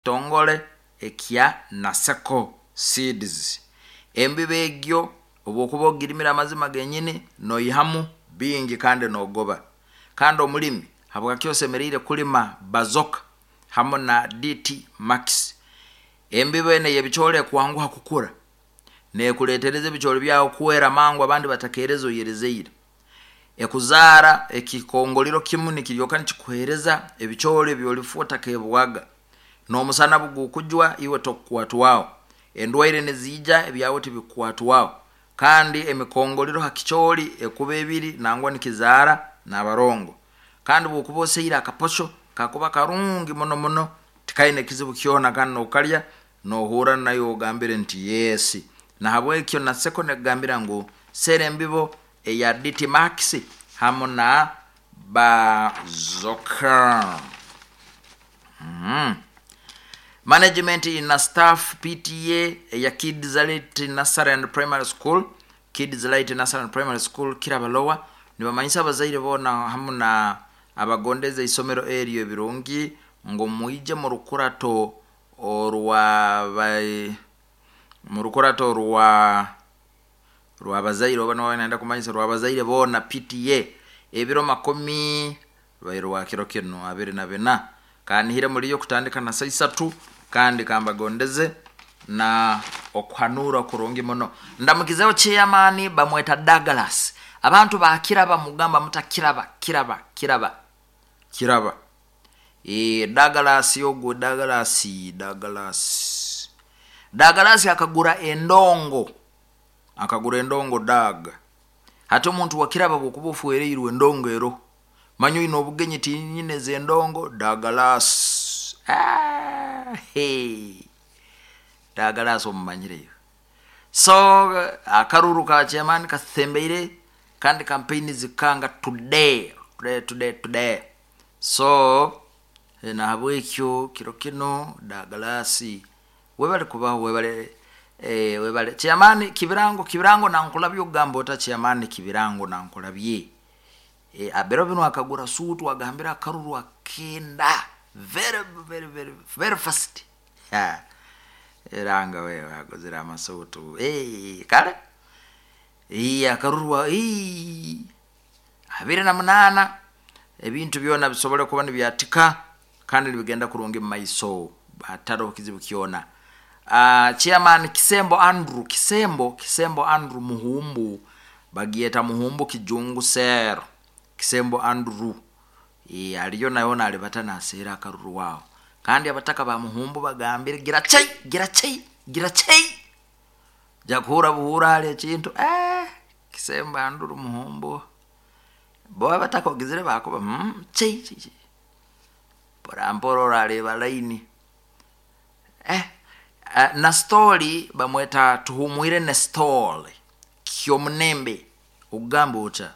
Kitongole ekya Naseko Seeds. Embibo egyo obwokuba ogirimire, amazima genyini, noihamu bingi kandi nogoba. Kandi omulimi, habwaki osemeriire kulima Bazoka hamu na DT Max? Embibo enu ey'ebicooli ekwanguha kukura, nekuletereza ebicooli byawe kwera mangu abandi batakereze oyerizeire. Ekuzaara ekikongoliro kimu nikiryoka nikikuheereza ebicooli ebyolifu otakebwaga. N'omusana bugukujwa, iwe tokukwatwaho. Endwaire niziija, ebyawe tibikukwatwaho. Kandi emikongoliro ha kicooli ekuba ebiri, nangwa nikizaara n'abarongo. Kandi bwokuba oseire akaposho, kakuba karungi muno muno, tikaine kizibu kyona, kandi nokalya nohurra nayo ogambire nti yes. Nahabwekyo Naseko nekugambira ngu sera embibo eya DT Max hamu na Bazoka. Management na staff, PTA eya Kids Light Nursery and Primary School, Kids Light Nursery and Primary School, Kiraba Lower, nibamanyisa abazaire boona hamu na abagondeza isomero eryo ebirungi ngu mwije mu rukurato orwa mu rukurato rw'abazaire, oba niba nayenda kumanyisa rw'abazaire boona, PTA, ebiro makumi rwa kiro kinu 24. Kanihire muliyo kutandika na saa 3, kandi kambagondeze na okuhanura kurungi muno. Ndamukizeho chairman, bamweta Douglas. Abantu bakiraba, mugamba mutakiraba, kiraba, kiraba, kiraba. E, Douglas ogwo, Douglas, Douglas, Douglas akagura endongo, akagura endongo Dag. Hati omuntu wakiraba, bwokuba ofuereirwe endongo ero, manya oine obugenyi, tinyineza endongo. Douglas, ah, hey. Douglas omumanyireyo. So akaruru ka chairman kasembeire, kandi campaign zikanga today, today, today, today. So nahabwekyo kiro kino, Douglas, webale kubaho, webale, webale. Chairman Kibirango, Kibirango nankulabye, okugamba ota chairman Kibirango nankulabye. Abiro binu akagura suutu, agambire akaruru akenda very very very very fast. Ha, eranga wewe aguzire amasuutu. Kale akaruru 28, ebintu byona bisobole kuba nibyatika kandi nibigenda kurungi mu maiso, hataroho kizibu kyona. Chairman Kisembo Andrew, Kisembo, Kisembo Andrew Muhumbu, bagyeta Muhumbu Kijungu Sero. Kisembo Andrew aliyo nayo nalibata naseera akaruru waho. Kandi abataka ba Muhumbu bagambire gira chai, gira chai, gira chai, jakuhura buhura hali ekintu. Kisembo Andrew Muhumbu, bo abataka ogizire bakuba chai chai chai, mpora mpora orareba laini. Na story bamweta Tuhumwire Nestor Kyomunembe, okugamba ota,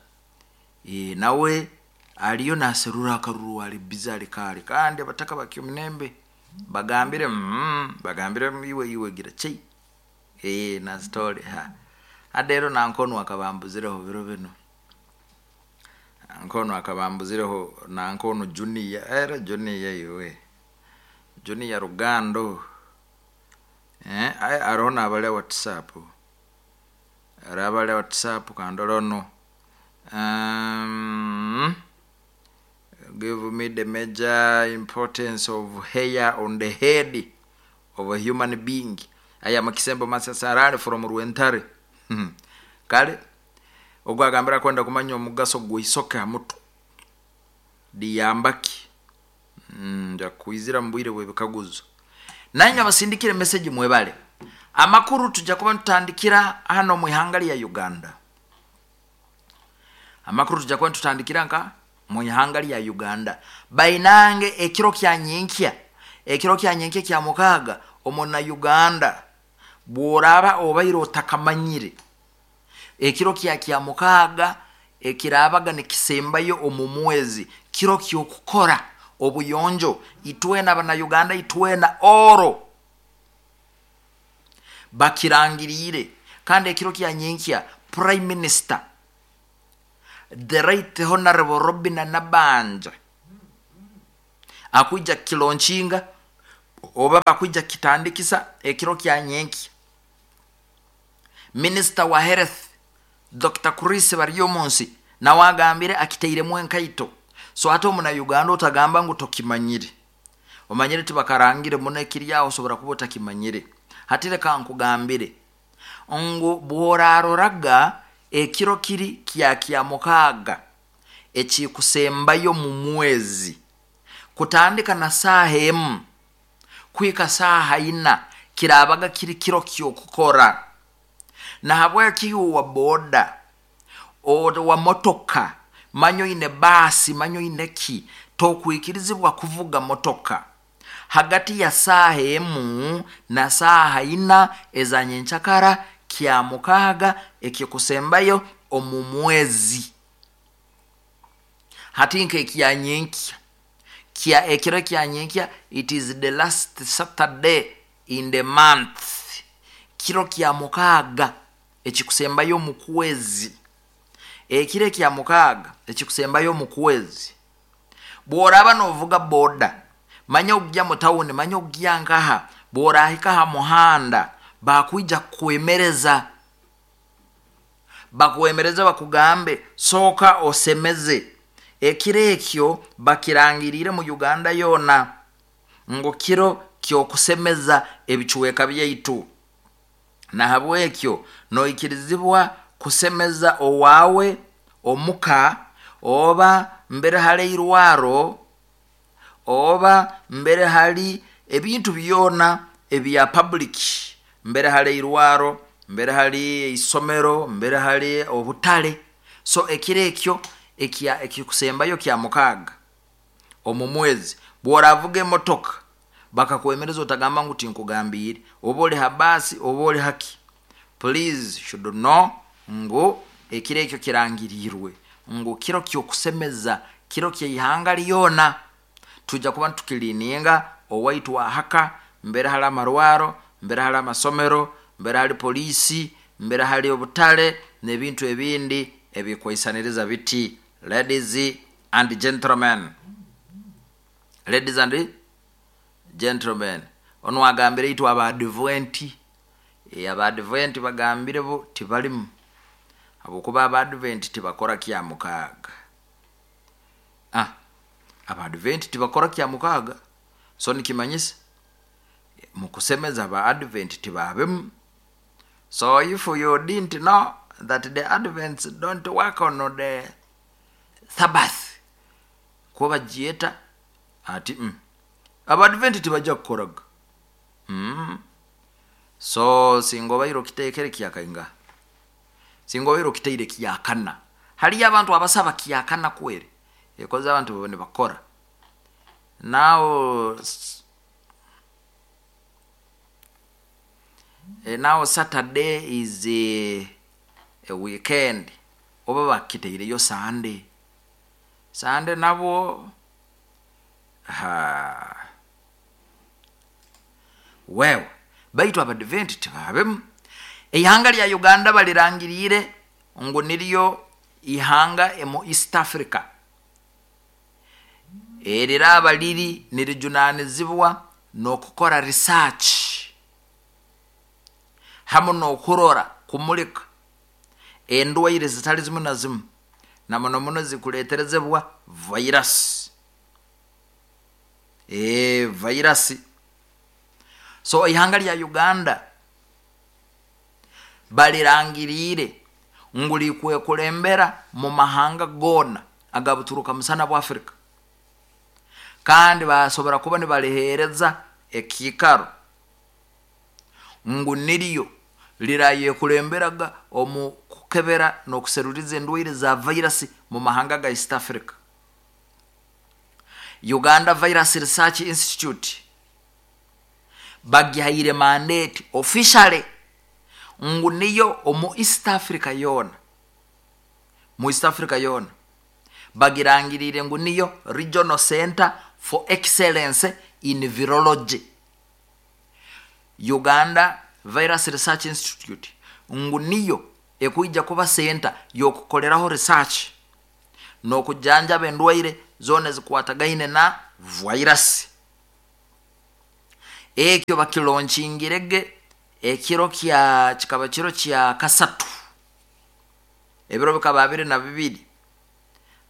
nawe aliyo naserura akaruru, ali busy, ali kaali. Kandi abataka ba Kyomunembe bagambire bagambire iwe, iwe gira chai. Na story ha adero nankonu akabambuzireho biro bino, nankonu akabambuzireho, nankonu Junior, era Junior, iwe Junior Rugando. Aroho nabali WhatsApp, ari abali WhatsApp kandorono. Give me the major importance of hair on the head of a human being. I am Kisembo Masasarari from Rwentare. Kale ogwo agambira kwenda kumanya omugaso gw'isoke ha mutwe liyambaki. Nja kwizira mu bwire bw'ebikaguzo. Nanywe abasindikire message, mwebale. Amakuru tujja kuba nitutandikira hano mu ihanga lya Uganda. Amakuru tujja kuba nitutandikira nka mu ihanga lya Uganda. Bainange, ekiro kya nyenkya, ekiro kya nyenkya kya mukaaga, omuna Uganda bworaba obaire otakamanyire, ekiro kya mukaaga ekirabaga nikisembayo omu mwezi, kiro kyokukora obuyonjo. Itwena abana Uganda, itwena oro bakirangiriire. Kandi ekiro kya nyenkya, Prime Minister, the Right Honorable Robina Nabanja, akwija kilaunchinga. Oba bakwija kitandikisa ekiro kya nyenkya. Minisita wa health Dr. Chris Baryomunsi nawe agambire akitairemu enkaito. So hati omunauganda otagamba ngu tokimanyire, omanyire tibakarangire muno ekiri aho, osobora kuba otakimanyire. Hati leka nkugambire ngu bworaroraga ekiro kiri kya mukaaga ekikusembayo mu mwezi, kutandika na saaha 1 kuhika saaha 4, kirabaga kiri kiro kyokukora. Nahabweki iwe wa boda, wa motoka, manya oine baasi, manya oine ki, tokwikirizibwa kuvuga motoka hagati ya saaha 1 na saaha 4 eza nyenkyakara kya mukaaga ekikusembayo omu mwezi. Hati nk'ekya nyenkya, kya ekiro kya nyenkya, it is the last Saturday in the month, kiro kya mukaaga ekikusembayo omu kwezi. Ekiro ekya mukaaga ekikusembayo omu kwezi, bworaba novuga boda, manya ogya mu tawuni, manya ogya nkaha, bworahika ha muhanda bakwija kukwemereza, bakwemereze bakugambe sooka osemeze. Ekiro ekyo bakirangirire mu Uganda yoona ngu kiro kyokusemeza ebicweka byaitu. Nahabwekyo noikirizibwa kusemeza owawe omuka, oba mbere hali irwaro, oba mbere hali ebintu byona ebya public, mbere hali irwaro, mbere hali isomero, mbere hali obutale. So ekiro ekyo ekikusembayo kya mukaaga omu mwezi, bworavuga emotoka bakakwemereza otagamba ngu tinkugambiire, oba oli ha baasi oba oli haki, please should know ngu ekiro ekyo kirangirirwe ngu kiro kyokusemeza, kiro kyeihanga lyona. Tujja kuba tukilininga owaitu ahaka, mbere hali amarwaro, mbere hali amasomero, mbere hali polisi, mbere hali obutale n'ebintu ebindi ebikwaisaniriza biti. Ladies and gentlemen, ladies and gentlemen, ono agambire itwe abadventi, abadventi bagambire bo tibalimu, habwokuba abadventi tibakora kya mukaaga. Abadventi tibakora kya mukaaga, so nikimanyisa mukusemeza aba advent tibabemu. So if you didn't know that the Advents don't work on the Sabbath, kuba bagyeta ati abadventi tibajja kukoraga. So singa obaire okiteekere kyakainga, singa obaire okiteire kyakana, haliyo abantu abasaba kyakana kweri ekoze abantu baba nibakora. Now now Saturday is a weekend, oba bakiteireyo Sunday, Sunday nabwo wewe baitu abadventi tibabemu. Ihanga lya Uganda balirangirire ngu niryo ihanga mu East Africa eriraba liri nirijunanizibwa n'okukora research hamu n'okurora kumulika endwaire zitali zimu na zimu, na muno muno zikuleterezebwa virus. Virus. So ihanga lya Uganda balirangirire ngu likwekulembera mu mahanga gona agabuturuka musana bwa Afrika, kandi basobora kuba nibalihereza ekikaro ngu niryo lirayekulemberaga omu kukebera n'okuseruliza endwaire za virus mu mahanga ga East Africa. Uganda Virus Research Institute bagihaire mandate officially ngu niyo omu East Africa yona, mu East Africa yona bagirangirire ngu niyo Regional Center for Excellence in Virology. Uganda Virus Research Institute ngu niyo ekuija kuba center yokukoleraho research n'okujanjaba endwaire zona ezikwatagaine na virus. Ekyo bakilonchingirege ekiro kya kikaba kiro kya kasatu, ebiro bikaba 22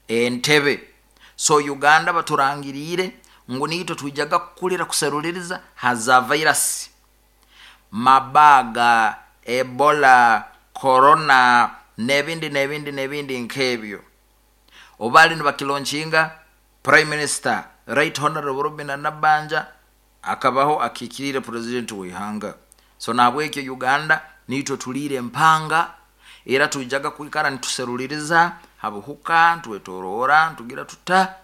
Entebe. So Uganda baturangiriire ngu niitwe twijaga kukulira kuseruliriza haza virus Mabaga, Ebola, Corona n'ebindi n'ebindi n'ebindi nk'ebyo. Obu baali nibakilonkinga, Prime Minister Right Honorable Robina Nabbanja akabaho akiikiriire Purezidenti w'ihanga. So nahabwekyo Uganda niitwe tuliire empanga, era twijaga kwikara nituseruliriza ha buhuka, ntwetoroora, ntugira tuta,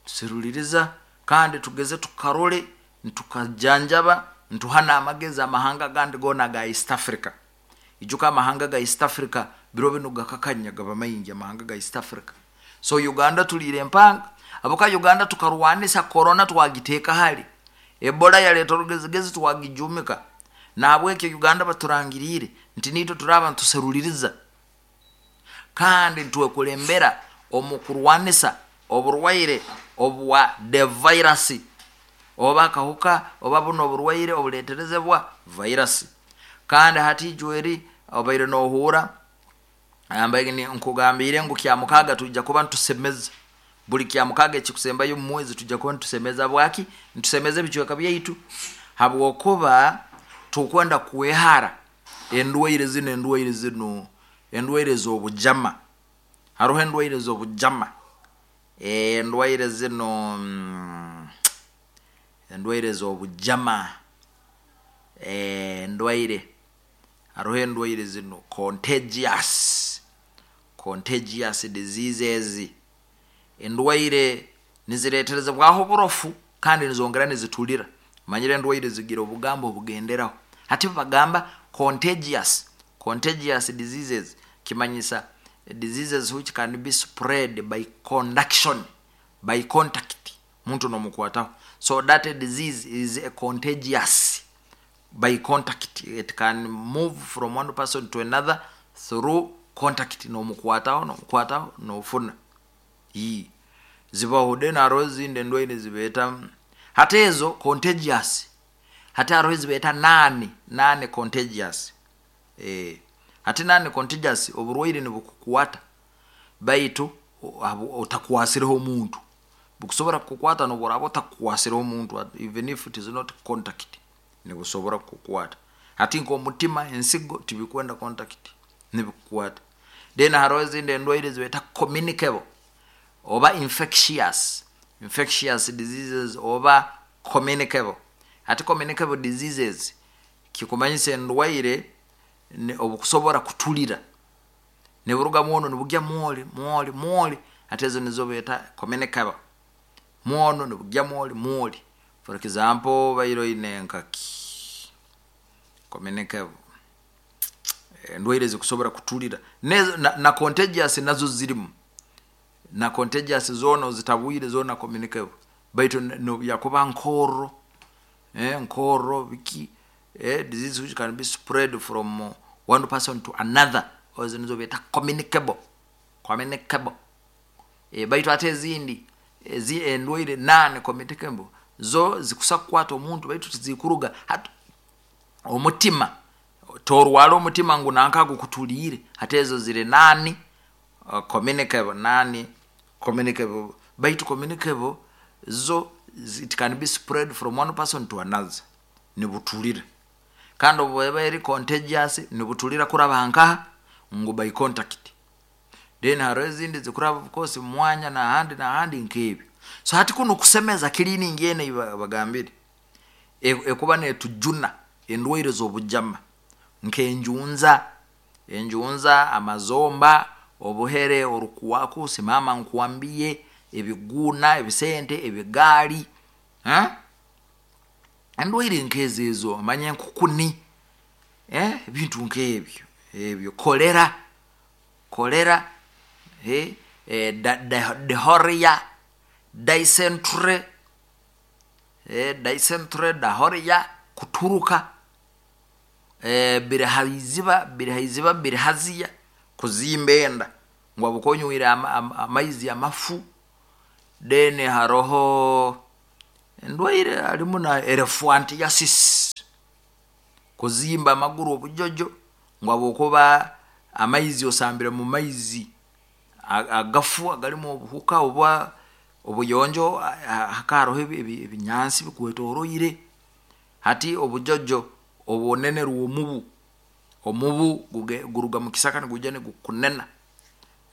tuseruliriza kandi tugeze tukarole, ntukajanjaba, ntuha n'amagezi amahanga agandi goona aga East Africa. Ijuka amahanga ga East Africa biro binu gakakanya, gaba maingi amahanga ga East Africa. So Uganda tuliire empanga, habwokuba Uganda tukarwanisa Corona twagiteeka hali, Ebola yaleeta orugezigezi twagijuumika. Nahabwekyo Uganda baturangiriire nti niitwe turaaba nituseruliriza kandi nitwekulembera omu kurwanisa oburwaire obwa the virus, oba akahuka oba buno oburwaire obuleeterezebwa virus. Kandi hati ijweri obaire noohuura nkugambiire ngu Kyamukaaga twija kuba nitusemeza buli Kyamukaaga ekikusembayo omu mwezi, tujja kuba nitusemeza. Bwaki nitusemeza ebicweka byaitu? Habwokuba tukwenda kwehara endwaire zinu, endwaire zinu, endwaire z'obujama. Haroho endwaire z'obujama, endwaire zinu, endwaire z'obujama, endwaire, haroho endwaire zinu contagious, contagious diseases, endwaire nizireeterezebwaho oburofu kandi nizongera nizitulira. Manyire endwaire zigira obugambo obugenderaho, hati bagamba contagious, contagious diseases kimanyisa diseases which can be spread by conduction, by contact, muntu nomukwataho. So that disease is a contagious by contact, it can move from one person to another through contact, nomukwataho, nomukwataho, nofuna. Zibaho. Then haroho ezindi endwaire zibeeta hati ezo contagious, hati haroho ezibeeta non contagious. Hati non contagious, oburwaire nibukukwata baitu otakwasireho omuntu. Bukusobora kukukwata nobu oraaba otakukwasireho omuntu, even if it is not contact, nibusobora kukukwata. Hati nk'omutima, ensigo tibikwenda contact, nibikukwata. Then haroho ezindi endwaire zibeeta communicable oba infectious, infectious diseases oba communicable. Hati communicable diseases kikumanyisa endwaire obukusobora kutulira, niburuga mwono nibugya mwoli mwoli mwoli. Hati ezo nizo beeta communicable, mwono nibugya mwoli mwoli. For example, baire oine nkaki communicable, endwaire ezikusobora kutulira na contagious nazo zirimu, na contagious zoona ozitabwire zoona communicable, baitu yakuba nkorro, nkorro biki, disease which can be spread from one person to another, ezo nizo beeta communicable, communicable. Baitu ate ezindi endwaire non communicable zo zikusa kukwata omuntu baitu tizikuruga. Hati omutima, torwara omutima ngu nanka gukutuliire, hati ezo ziri non communicable, non communicable. Baitu communicable zo it can be spread from one person to another, nibutulira. Kandi obu eba eri contagious nibutulira kuraba nkaha? Ngu by contact. Then haroho ezindi zikuraba of course mumwanya nahandi nahandi nk'ebyo. So hati kunu kusemeza, cleaning enu ei bagambire ekuba netujuna endwaire z'obujama nk'enjunza, enjunza, amazomba, obuhere, orukuwaku, simama nkwambie, ebiguuna, ebisente, ebigaali, endwaire nk'ezo ezo, manya enkukuni, ebintu nk'ebyo ebyo, kolera, kolera, diarrhoea, dysentery, dysentery, diarrhoea, kuturuka, birihaiziba, birihaiziba, birihaziya, kuzimba enda ngu habwokuba onywire amaizi amafu. Then haroho Endwaire harimu na elephantiasis, kuzimba amaguru obujojo ngu habwokuba amaizi osambire mu maizi agafu agalimu obuhuka oba obuyonjo hakaba haroho ebinyansi bikwetoroire, hati obujojo obunenerwa omubu, omubu guruga mukisaka nigwija nigukunena,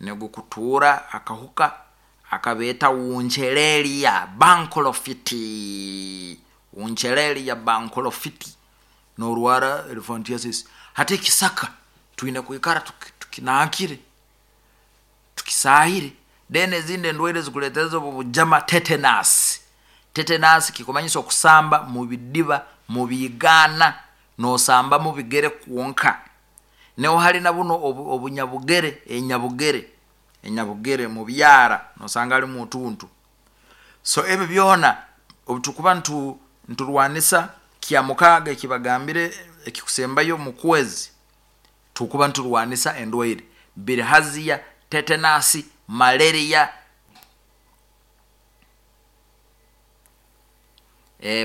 nigukutuura akahuka akabeeta wuncheleliya banklofiti, wuncheleliya banklofiti, norwaara elephantiasis. Hati ekisaka twine kwikara tukinankire, tukisaahire, then ezindi endwaire ezikureetereza obu obujama tetanus, tetanus kikumanyisa okusamba mubidiba, mubiigaana, nosamba mubigere kwonka, niho hari nabunu obunyabugere, enyabugere, enyabugere mubyara nosanga harimu otuntu. So ebi byoona obutukuba niturwaanisa kyamukaaga ekibagambire ekikusembayo mukwezi, tukuba niturwaanisa endwaire bilharzia, tetanus, malaria,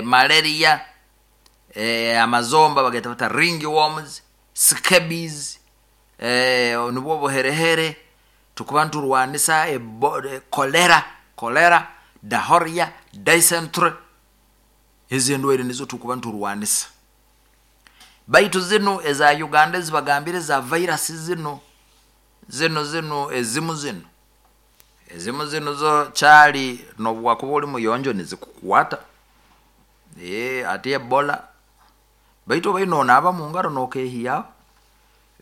malaria, amazomba bageeta bata ring worms, scabies, nubwo obuherehere, tukuba niturwaanisa cholera, cholera, diarrhea, dysentery, ezi endwaire nizo tukuba niturwaanisa. Baitu zinu eza Uganda ezibagambire eza virus zinu, zinu zinu ezimu zinu, ezimu zinu zo caali nobu wakuba ori muyonjo nizikukwaata, hati ebola, baitu obaire nonaaba mungaro nokeehiyaaho,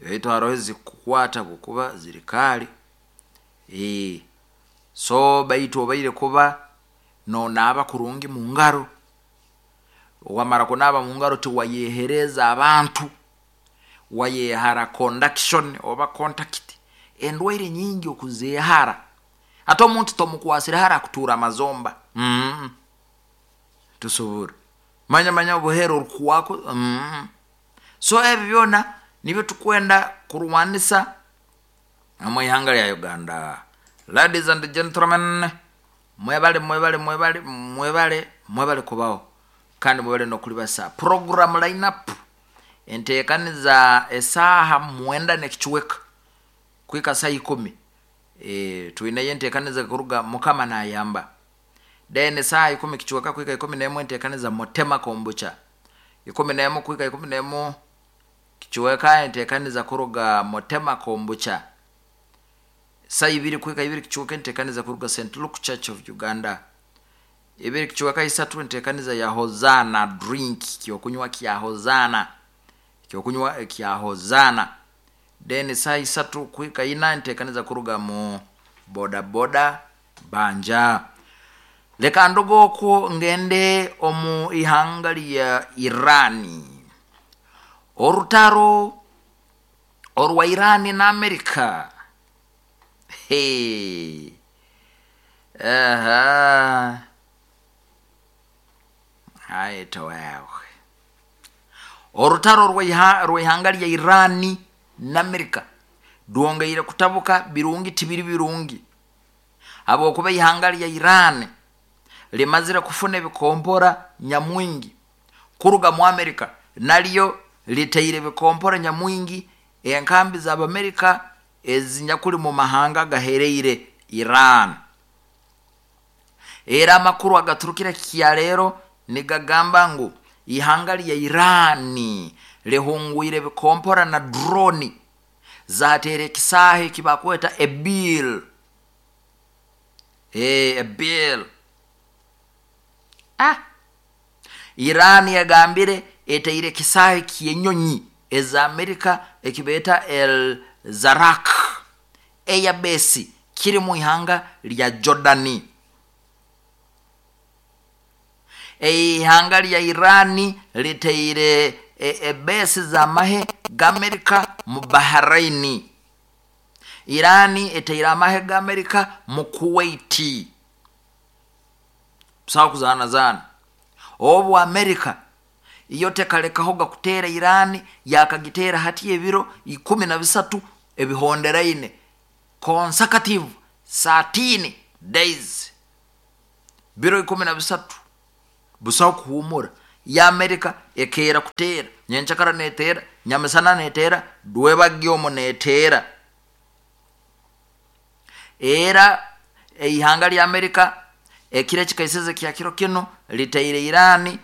baitu haroho ezikukwaata habwokuba ziri kaari, so baitu obaire kuba nonaaba kurungi mungaro, wamara kunaaba mungaro tiwayehereza abantu, wayehara conduction oba contact, endwaire nyingi okuzehara, hati omuntu tomukwasire hara akutuura amazomba, tosobora, manya manya obuhere orukuhwaako, so ebi byoona nibyo tukwenda kurwaanisa omwihanga rya Uganda. Ladies and gentlemen, mwebale mwebale mwebale mwebale mwebale kubaho kandi mwebale nokuribasa. Program line up enteekaniza esaaha mwenda nekicweka kuhika saaha ikumi, twineyo enteekaniza kuruga Mukama nayamba. Then esaaha ikumi kicweka kuhika ikumi nemu enteekaniza Mutema kombucha, ikumi nemu kuhika ikumi nemu kicweka enteekaniza kuruga Mutema kombucha, saa ibiri kuhika ibiri kicweka enteekaniza kuruga St Luke Church of Uganda, ibiri kicweka isatu enteekaniza ya Hozana drink, ekyokunywa kya Hozana, ekyokunywa kya Hozana. Then saa isatu kuhika ina enteekaniza kuruga mu boda boda banja. Leka nduge okwo ngende omu ihanga rya Iran. Orutaro orwa Iran na America, hey. Aha. Aita wewe. Orutaro rw'ihanga rya Iran na America rwongeire kutabuka birungi tibiri birungi, habwokuba ihanga rya Iran rimazire kufuna ebikompora nyamwingi kuruga mu America, naryo riteire ebikompora nyamwingi enkambi z'Abamerika ezinyakuli mu mahanga agahereire Iran. Era amakuru agaturukire kyaleero nigagamba ngu ihanga rya Iran rihungwire ebikompora na droni zateera ekisaaha ekibakweta Erbil, Erbil. Iran egambire eteire ekisaaha eky'enyonyi eza Amerika ekibeeta El Zarak Airbase kiri mu ihanga rya Jordani. Eihanga rya Iran riteire ebase z'amahe g'Amerika mu Bahrain. Iran eteire amahe g'Amerika mu Kuwait. Busaho kuzaanazaana. Obu Amerika iyo tekalekahoga kuteera Iran, yakagiteera hati ebiro 13 ebihonderaine, consecutive 13 days, biro 13. Busaho kuhuumura. Ya Amerika ekeera kuteera, nyenkyakara neeteera, nyamisana neeteera, rwebagyo omu neeteera. Era eihanga lya Amerika ekiro ekikaisize kya kiro kinu litaire Irani